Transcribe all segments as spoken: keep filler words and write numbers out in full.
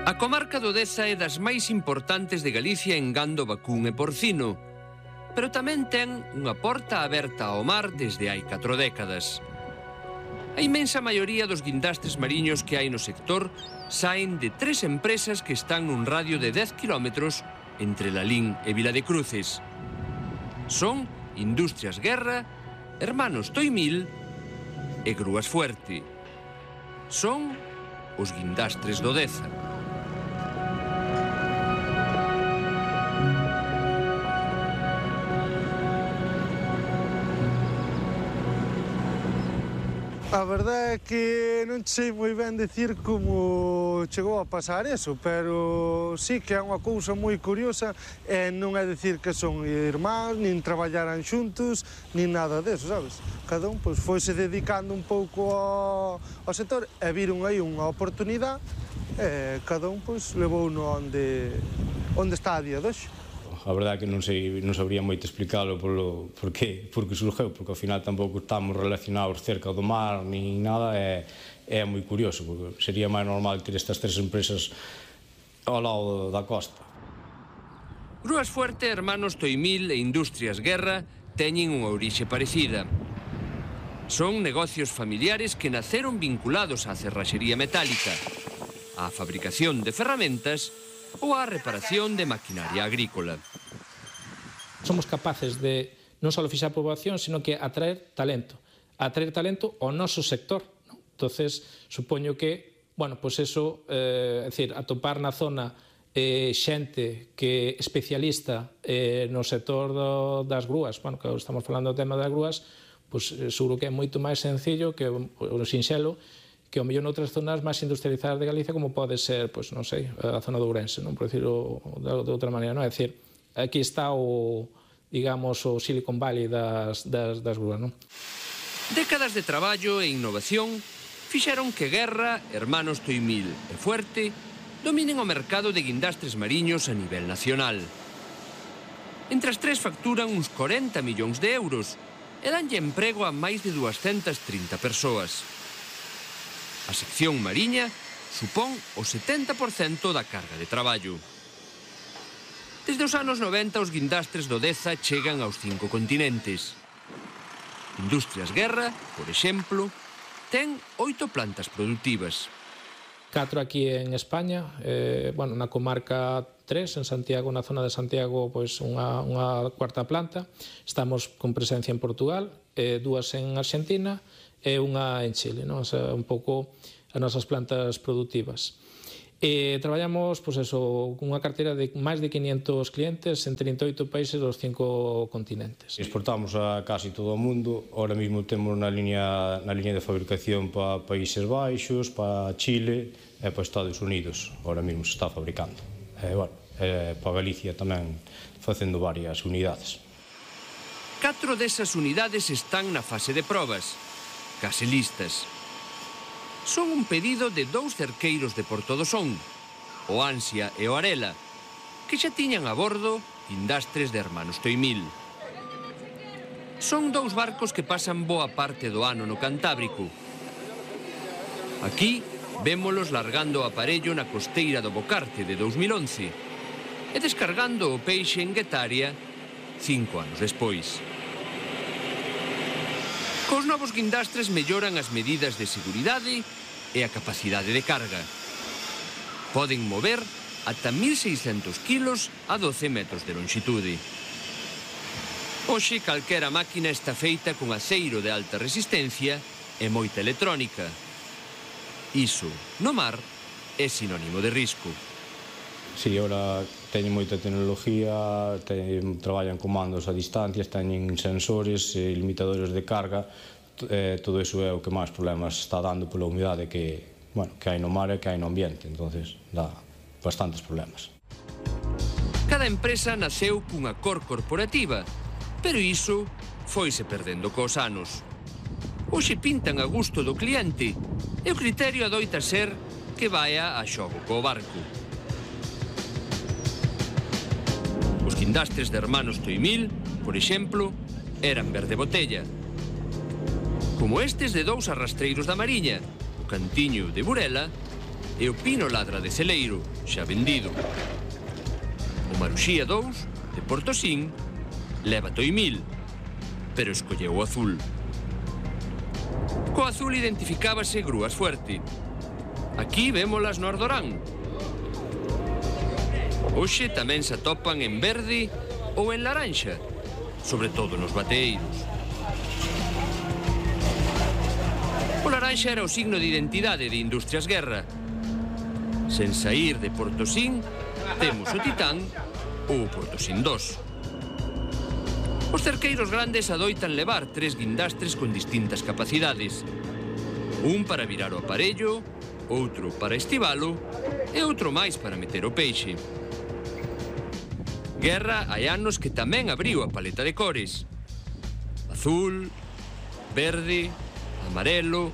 A comarca do Deza é das máis importantes de Galicia en gando vacún e porcino, pero tamén ten unha porta aberta ao mar desde hai catro décadas. A inmensa maioría dos guindastres mariños que hai no sector saen de tres empresas que están nun radio de dez kilómetros entre Lalín e Viladecruces. Son Industrias Guerra, Hermanos Toimil e Grúas Fuerte. Son os guindastres do Deza. A verdade é que non sei moi ben dicir como chegou a pasar eso, pero sí que é unha cousa moi curiosa e non é dicir que son irmáns, nin traballaran xuntos, nin nada deso, sabes? Cada un pois, foise dedicando un pouco ao, ao sector e viron aí unha oportunidade e cada un pois, levou no onde, onde está a día de hoxe. A verdade é que non, sei, non sabría moito explicalo polo, por que, por que surgeu, porque ao final tampouco estamos relacionados cerca do mar ni nada, e é moi curioso, porque sería máis normal ter estas tres empresas ao lado da costa. Grúas Fuerte, Hermanos Toimil e Industrias Guerra teñen unha orixe parecida. Son negocios familiares que naceron vinculados á cerraxería metálica, á fabricación de ferramentas ou á reparación de maquinaria agrícola. Somos capaces de non só fixar poboación, sino que atraer talento. Atraer talento ao noso sector. ¿No? Entonces, supoño que, bueno, pois eso, eh, é dicir, atopar na zona eh, xente que especialista eh, no sector do, das grúas, bueno, que estamos falando do tema das grúas, pois seguro que é moito máis sencillo que o sinxelo, que ao mellor noutras zonas máis industrializadas de Galicia, como pode ser, pois non sei, a zona de Ourense, non, por decirlo de outra maneira, non? É dicir, aquí está o, digamos, o Silicon Valley das, das, das grúas, non? Décadas de traballo e innovación fixeron que Guerra, Hermanos Toimil e Fuerte dominen o mercado de guindastres mariños a nivel nacional. Entre as tres facturan uns corenta millóns de euros e danlle emprego a máis de duascentas trinta persoas. A sección mariña supón o setenta por cento da carga de traballo. Desde os anos noventa os guindastres do Deza chegan aos cinco continentes. Industrias Guerra, por exemplo, ten oito plantas productivas. Catro aquí en España, eh, bueno, na comarca tres, en Santiago, na zona de Santiago, pois unha, unha cuarta planta. Estamos con presencia en Portugal, eh, dúas en Argentina e unha en Chile, non? O sea, un pouco as nosas plantas productivas. E traballamos, pois eso, unha carteira de máis de quinhentos clientes en trinta e oito países dos cinco continentes. Exportamos a casi todo o mundo. Ahora mesmo temos na liña, na liña de fabricación para Países Baixos, para Chile e para Estados Unidos. Ahora mesmo se está fabricando. E, bueno, e para Galicia tamén facendo varias unidades. Catro desas unidades están na fase de probas, case listas. Son un pedido de dous cerqueiros de Porto do Son, o Ansia e o Arela, que xa tiñan a bordo guindastres de Hermanos Toimil. Son dous barcos que pasan boa parte do ano no Cantábrico. Aquí vémolos largando o aparello na costeira do Bocarte de dous mil once e descargando o peixe en Guetaria cinco anos despois. Cos novos guindastres melloran as medidas de seguridade e a capacidade de carga. Poden mover ata mil seiscentos kilos a doce metros de longitude. Hoxe, calquera máquina está feita con aceiro de alta resistencia e moita electrónica. Iso, no mar, é sinónimo de risco. Si, ora teñen moita tecnología, teñen, traballan comandos a distancias, teñen sensores e limitadores de carga, eh, todo iso é o que máis problemas está dando pola humidade que, bueno, que hai no mar e que hai no ambiente, entonces dá bastantes problemas. Cada empresa naceu cunha cor corporativa, pero iso foise perdendo cos anos. Hoxe pintan a gusto do cliente e o criterio adoita ser que vaia a xogo co barco. Os guindastres de Hermanos Toimil, por exemplo, eran verde botella. Como estes de dous arrastreiros da Mariña, o Cantiño de Burela e o Pino Ladra de Celeiro, xa vendido. O Maruxía dous, de Portosín, leva toimil, pero escolleu o azul. Co azul identificábase Grúas Fuerte. Aquí vémolas no Ardorán. Hoxe tamén se atopan en verde ou en laranxa, sobre todo nos bateeiros. O laranxa era o signo de identidade de Industrias Guerra. Sen saír de Portosín, temos o Titán ou o Portosín dos. Os cerqueiros grandes adoitan levar tres guindastres con distintas capacidades. Un para virar o aparello, outro para estivalo e outro máis para meter o peixe. Guerra hai anos que tamén abriu a paleta de cores. Azul, verde, amarelo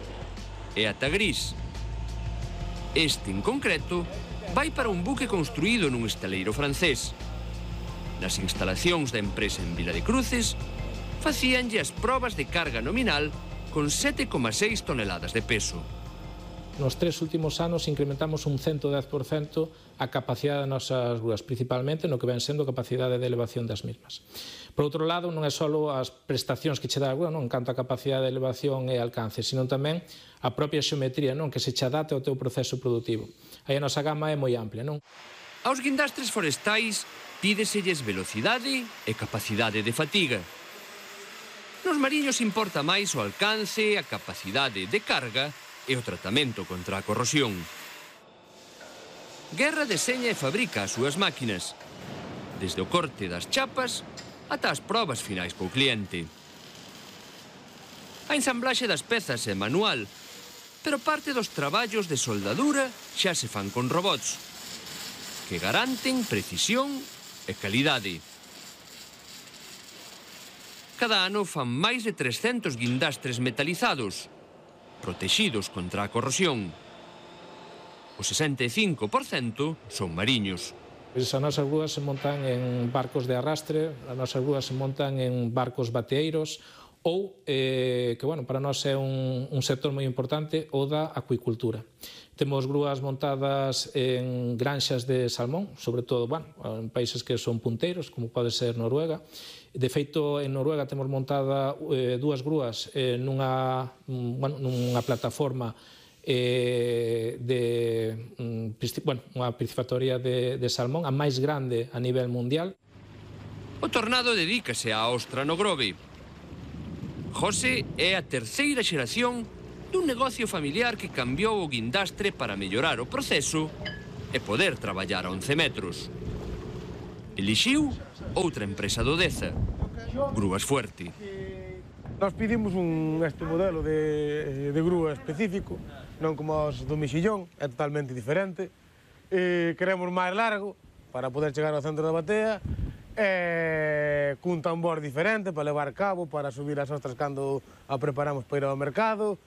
e ata gris. Este, en concreto, vai para un buque construído nun estaleiro francés. Nas instalacións da empresa en Vila de Cruces, facíanlle as probas de carga nominal con sete coma seis toneladas de peso. Nos tres últimos anos incrementamos un ciento dez por cento a capacidade das nosas grúas, principalmente no que ven sendo a capacidade de elevación das mesmas. Por outro lado, non é só as prestacións que che dá a grúa, non en canto a capacidade de elevación e alcance, sino tamén a propia xeometría, non, que se che adapte ao teu proceso productivo. Aí a nosa gama é moi amplia, non? Aos guindastres forestais pídeselles velocidade e capacidade de fatiga. Nos mariños importa máis o alcance, a capacidade de carga e o tratamento contra a corrosión. Guerra deseña e fabrica as súas máquinas, desde o corte das chapas ata as probas finais co cliente. A ensamblaxe das pezas é manual, pero parte dos traballos de soldadura xa se fan con robots, que garanten precisión e calidade. Cada ano fan máis de trescentos guindastres metalizados, protegidos contra a corrosión. O sesenta e cinco por cento son mariños. As nosas grúas se montan en barcos de arrastre, as nosas grúas se montan en barcos bateeiros ou, eh, que, bueno, para nós é un, un sector moi importante, o da acuicultura. Temos grúas montadas en granxas de salmón, sobre todo, bueno, en países que son punteiros, como pode ser Noruega. De feito, en Noruega temos montada eh, dúas grúas eh, nunha, bueno, nunha plataforma eh, de, bueno, unha piscifactoría de, de salmón, a máis grande a nivel mundial. O Tornado dedícase á ostra no Grove. José é a terceira xeración dun negocio familiar que cambiou o guindastre para mellorar o proceso e poder traballar a once metros. Elixiu outra empresa do Deza, Grúas Fuerte. Nós pedimos un, este modelo de, de grúa específico, non como os do Mexillón, é totalmente diferente. E queremos máis largo para poder chegar ao centro da batea, e cun tambor diferente para levar cabo, para subir as ostras cando a preparamos para ir ao mercado.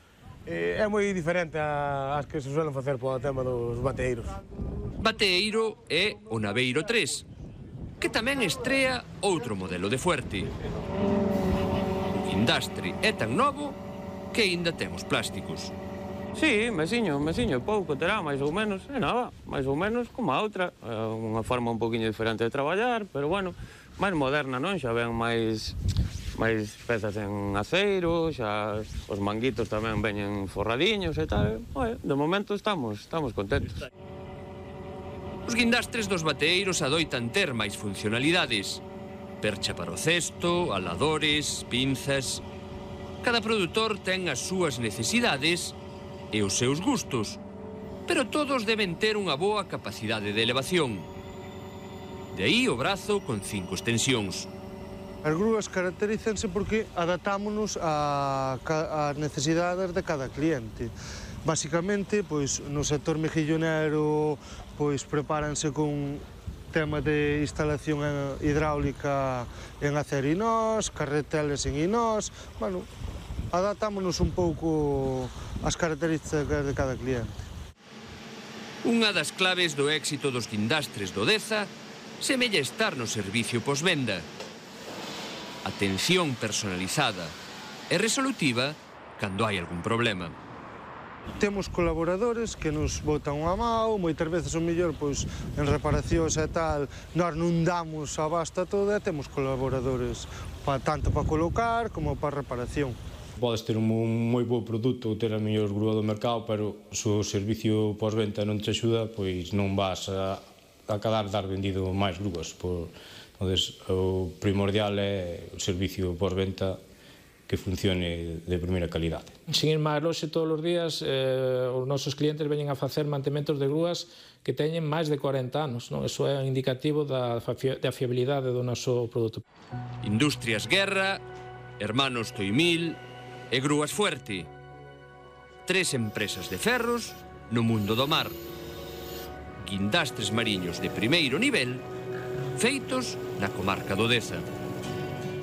E é moi diferente ás que se suelen facer para o tema dos bateeiros. Bateeiro é o Naveiro tres, que tamén estrea outro modelo de Fuerte. O guindastre é tan novo que aínda temos plásticos. Sí, mesiño, mesiño, pouco terá, máis ou menos, é nada, máis ou menos como a outra, é unha forma un poquinho diferente de traballar, pero bueno, máis moderna, non? Xa ven máis máis pezas en aceiro, xa os manguitos tamén veñen forradiños e tal, e, de momento estamos, estamos contentos. Os guindastres dos bateeiros adoitan ter máis funcionalidades. Percha para o cesto, aladores, pinzas... Cada produtor ten as súas necesidades e os seus gustos, pero todos deben ter unha boa capacidade de elevación. De aí o brazo con cinco extensións. As grúas caracterízanse porque adaptámonos ás necesidades de cada cliente. Basicamente, pois, no sector mejillonero, pois, prepáranse con tema de instalación hidráulica en acero inós, carreteles en inós. Bueno, adaptámonos un pouco ás características de cada cliente. Unha das claves do éxito dos guindastres do Deza semella estar no servicio posvenda. Atención personalizada e resolutiva cando hai algún problema. Temos colaboradores que nos botan unha mão, moitas veces o mellor pois, en reparacións e tal, nós non damos a basta toda e temos colaboradores pa, tanto para colocar como para reparación. Podes ter un moi bo produto ou ter a mellor grúa do mercado, pero se o servicio pós-venta non te axuda, pois non vas a, a acabar dar vendido máis grúas. Por, entonces, o primordial é o servicio pós-venta que funcione de primeira calidade. Sin ir máis lonxe, todos os días eh, os nosos clientes veñen a facer mantementos de grúas que teñen máis de corenta anos, non? Eso é un indicativo da, da fiabilidade do noso produto. Industrias Guerra, Hermanos Toimil e Grúas Fuerte. Tres empresas de ferros no mundo do mar. Guindastres mariños de primeiro nivel feitos na comarca do Deza.